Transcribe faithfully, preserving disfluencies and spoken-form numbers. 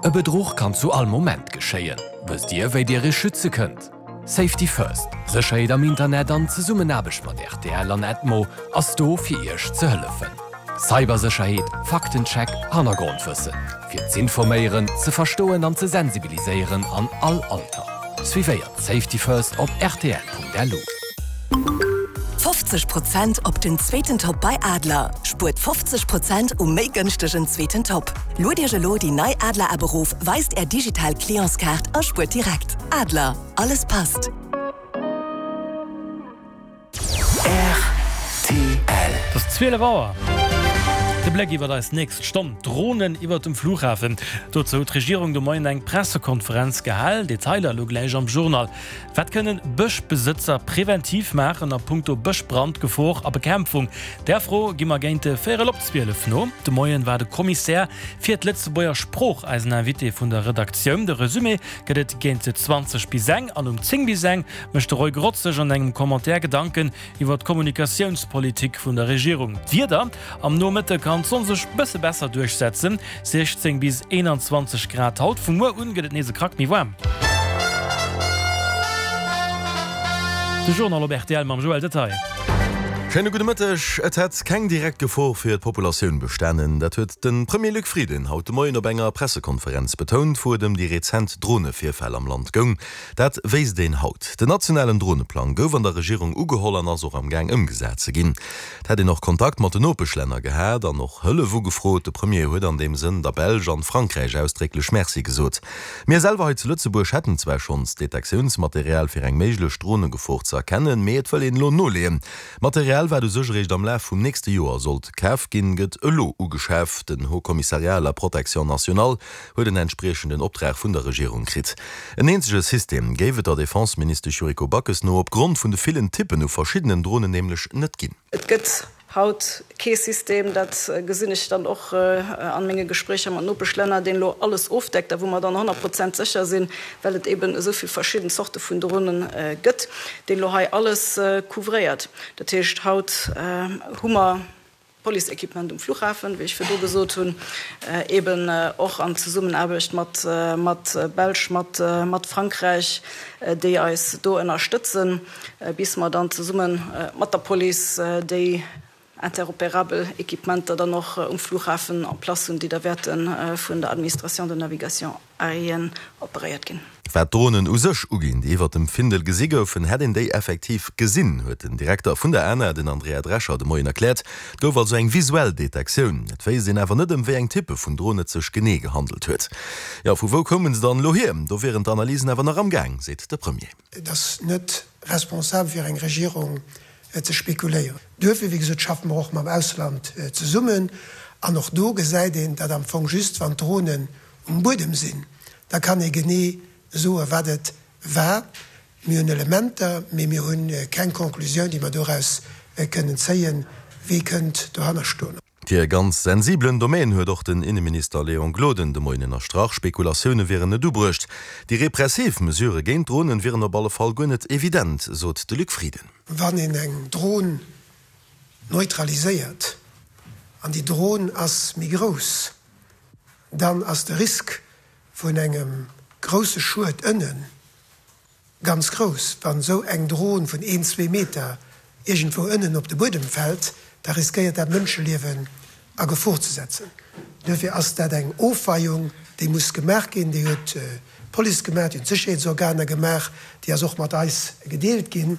E Bedruch kann zu all Moment geschéien. Wësst Dir, wéi Dir Iech schütze kënnt? Safety First, Sécherheet am Internet an Zesummenaarbecht mat R T L an Edmo ass do fir Iech ze hëllefen. Cybersécherheet, Faktencheck, Hannergrondwëssen. Fir z'informéieren, ze verstoen an ze sensibiliséieren an all Alter. Suivéiert Safety First op R T L Punkt L U. fofzeg Prozent op den zweeten Top bei Adler. Spuert fofzeg Prozent um méi gënschtegen zweeten Top. Luet Iech elo déi nei Adler App erof, weist är digital Clientskaart a spuert direkt. Adler, alles passt. R T L. Et ass zwielef Auer. De Bléck iwwer eis nächst Stonn: Dronen iwwer dem Flughafen. Dozou huet d'Regierung de Moien eng Pressekonferenz gehalen. Detailer elo gläich am Journal. Wat kënnen Bëschbesëtzer preventiv maachen a punkto Bëschbrandgefor a Bekämpfung? Där Fro gi mer géint véierel op zwielef no. De Moien war de Kommissär fir d'Lëtzebuerger Sprooch eisen Invité vun der Redaktioun. De Resumé gëtt et géint zwanzeg bis eng an um zéng bis eng mécht de Roy Grotz sech an engem Commentaire Gedanken iwwer d'Kommunikatiounspolitik vun der Regierung. D'Wieder: Am Nomëtte kann d'Sonn sech bësse besser duerchsetzen, siechzéng bis eenanzwanzeg Grad haut, vu muer un gëtt et nees e Krack méi waarm. De Journal op R T L mam Joël Detaille. Schéine gudde Mëtteg. Et hätt keng direkt Gefor fir d'Populatioun bestanen. Dat huet de Premier Luc Frieden haut de Moien op enger Pressekonferenz betount, wou et ëm déi rezent Dronevirfäll am Land goung. Dat wéisst een haut. Den nationalen Droneplang gouf an der Regierung ugeholl an ass och am Gaang ëmgesat ze ginn. Et hätt een och Kontakt mat den Nopeschlänner gehat an och Hëllef ugefrot. De Premier huet an deem Sënn der Belsch an Frankräich ausdrécklech Merci gesot. Mir selwer hei zu Lëtzebuerg hätten zwar schonns Detektiounsmaterial fir eng méiglech Dronegefor ze erkennen, mee et wëll een elo noleeën. Material wat u sech eréischt am Laf vum nächste Joer sollt kaf ginn, gëtt elo ugeschaf. Den Haut Commissariat à la Protection nationale huet en entspriechenden Optrag vun der Regierung kritt. En eenzege System géif et der Defenseministesch Yuriko Backes no opgrond vun de villen Typpen u verschiddenen Dronen nämlech net ginn. Et gëtt haut kee System, dat gesinn ech dann och a menge Gespréicher mat Nopeschlänner, deen elo alles ofdeckt a wou mer dann honnert Prozent sécher sinn, well et eben esou vill verschidden Zorte vun Dronen gëtt, deen elo hei alles couvréiert. Dat heescht, haut hu mer Police-Equipement um Flughafen, wéi ech virdu gesot hunn, eben och an Zesummenaarbecht mat mat Belsch, mat mat Frankräich, déi eis do ënnerstëtzen, bis mer dann zesumme mat der Police déi interopérabel Equipementer dann och um Flughafen en place hunn, déi da wäerte vun der Administration de navigation aérienne operéiert ginn. Wat d'Dronen u sech uginn, déi iwwer dem Findel gesi goufen, hätt een déi effektiv gesinn, huet den Direkter vun der ANA, den Andrea Drescher, de Moien erkläert. Et gouf also eng visuell Detektioun. Et wéisst een awer net, ëm wéi eng Typpe vun Dron et sech genee gehandelt huet. Jo, vu wou koumen se dann elo hier? Do wieren d'Analysen awer nach am Gaang, seet de Premier. Et ass net responsabel fir eng Regierung ze spekuléieren. Duerfir, wéi gesot, schaffe mer och mam Ausland zesummen. An och do gesäit een dat am Fong just, wann d'Dronen um Buedem sinn, da kann ee genee soen, wat et war. Mir hunn Elementer, mee mir hu keng Conclusioun, déi mer doraus kënnen zéien, wie kënnt dohanner stoen. Et wier e ganz sensibelen Domaine, huet och den Inneminister Léon Gloden de Moien ënnerstrach. Spekulatioune wieren net ubruecht. Déi repressiv Mesurë géint Dronen wieren op alle Fall guer net evident, sot de Luc Frieden. Wann een eng Dron neutraliséiert an déi Dron ass méi grouss, dann ass de Risk vun engem grousse Schued ënnen ganz grouss. Wann esou eng Dron vun een, zwee Meter iergendwou ënnen op de Buedem fält, da riskéiert dat Mënscheliewen a Gefor ze setzen. Duerfir ass dat eng Ofweiung, déi muss gemaach ginn. Déi huet d'Police gemaach, déi hunn d'Sécherheetsorganer gemaach, déi ass och mat eis gedeelt ginn.